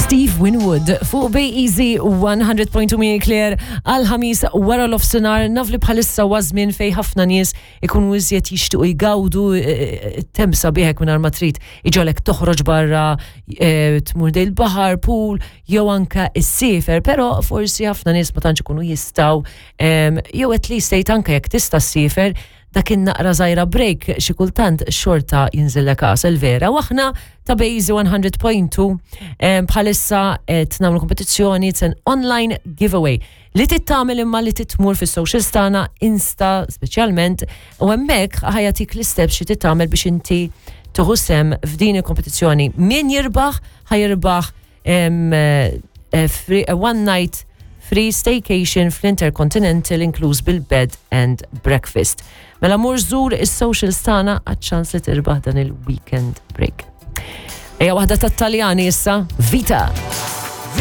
Steve Winwood fuq Bay Easy 100.2 minn Claire għal ħamis wara l-ofsenar naf li bħalissa huwa żmien fej ħafna nies ikunu iżjed jixtiequ jgawdu eh, eh, temp sabiħek mingħajr ma trid iġolek toħroġ barra eh, tmur dej il-baħar, pool jew anka issiefer, però forsi ħafna nies ma tantx ikunu jistgħu jew at least tgħid anke jekk tista' ssiefer dak in-naqra żgħira break xi kultant xorta jinżillek għasel vera. U aħna ta' Bejzi 100.2 bħalissa qed nagħmlu kompetizzjoni it's an online giveaway li tittamel imma li titmur fis-socials tagħna Insta speċjalment u hemmhekk ħajatik l-isteps xi tittamel biex inti tieħu sem f'din il-kompetizzjoni. Min jirbaħ ħajirbaħ eh, eh, one night free staycation fl-Intercontinental inkluż bil-bed and breakfast. Mela mur żur is-socials tagħna għaċ-ċans li tirbaħ dan il-weekend break. Ejja waħda tat-Taljani issa, Vita.